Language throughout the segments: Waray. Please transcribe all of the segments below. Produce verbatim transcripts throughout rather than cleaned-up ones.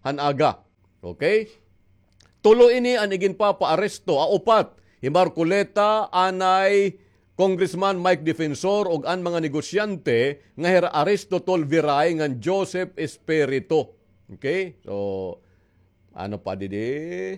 han aga. Okay? Tulo ini an iginpapaaresto, ah, upat. Hi Marcoleta, anay Congressman Mike Defensor, ug an mga negosyante nga hira Aristotle Viray ngan Joseph Espiritu. Okay? So, ano pa didi?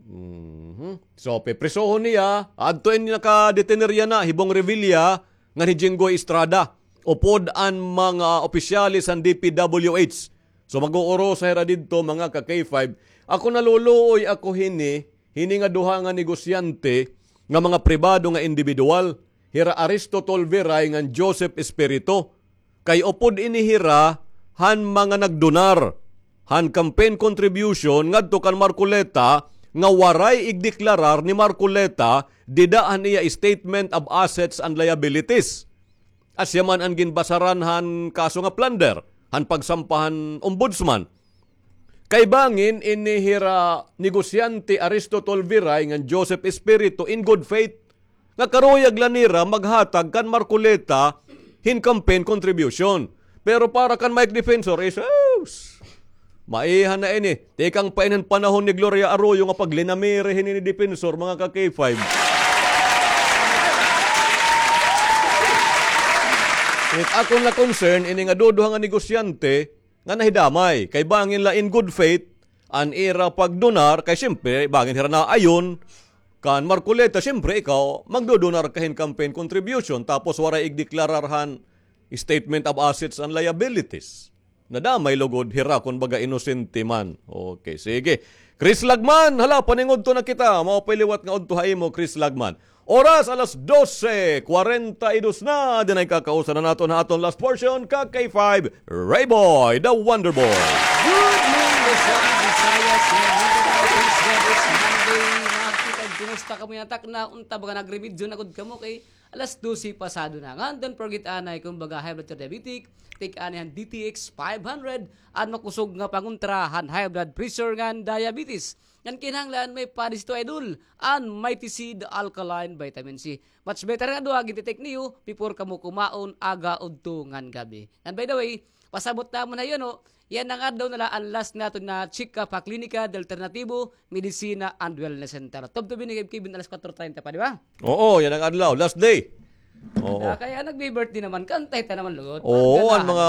Mhm. So, piprisohon niya, adto ini nakadetener yana, hi Bong Revilla, ngan hi Jinggoy Estrada. Upod an mga opisyales han D P W H. So, mag-uurosa hira didto, mga ka-K five. Ako naluluoy ako hini, hini nga duha nga negosyante nga mga pribado nga indibidwal, hira Aristotle Viray ngan Joseph Espiritu. Kay upod ini hira han mga nagdonar han campaign contribution ngadto kan Marcoleta nga waray igdeklarar ni Marcoleta dida han iya statement of assets and liabilities. Asya man an ginbasaran han kaso nga plunder han pagsampa han ombudsman. Kay bangin ini hira negosyante Aristotle Viray ngan Joseph Espiritu in good faith nga karuyag la nira maghatag kan Marcoleta hin campaign contribution. Pero para kan Mike Defensor is, sus, maiha na ini. Tikang pa ini han panahon ni Gloria Arroyo nga paglinamiri hini ni Defensor, mga ka-K five. It akon la concern, ini nga duduha nga negosyante, nga nahidamay. Kay bangin la in good faith, an ira pagdonar, kay siyempre, bangin hira naayon, kan Marcoleta, siyempre, ikaw, magdodonar ka hin campaign contribution, tapos waray igdeklarar han statement of assets and liabilities. Nadamay lugod hira, kun baga inosente man. Okay, sige. Chris Lagman, hala, paningudto na kita. Mao pa'y liwat nga udto ha imo, Chris Lagman. Oras, alas dose kwarenta y dos na. Dinay kakausan na naton ha aton last portion, ka K five, Rayboy, the Wonder Boy. Good morning, Luzon, Visayas, and Mindanao. Praise God, it's Monday. Mga kakay, kumusta kamo yana? Takna, unta baga nagremedyo na gud kamo kay alas dose pasado na. Ngan don't forget anay, kun baga high blood or diabetic, take anay han D T X five hundred, an makusog nga pangontra han high blood pressure ngan diabetes. Ngan kinahanglan may padi ito, idol, an Mighty Seed Alkaline Vitamin C. Much better nga duha, ginti-take niyo before kamo kumaon, aga, udto, ngan gab-i. Ngan by the way, pasabot namon ha iyo, no, yana nga adlaw na la an last naton na check-up ha Klinika de Alternativo, Medicina and Wellness Center. Tubtob ini kay Kevin, alas kwatro treinta pa, di ba? Oo, yana nga adlaw, last day. Oo. Ah, kay nagbi-birthday naman, kantay ta naman, lugod. Oo, an mga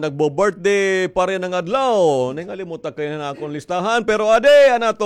nagbo-birthday pa yana nga adlaw. Ningalimot ak kay na akon listahan, pero adi, an aton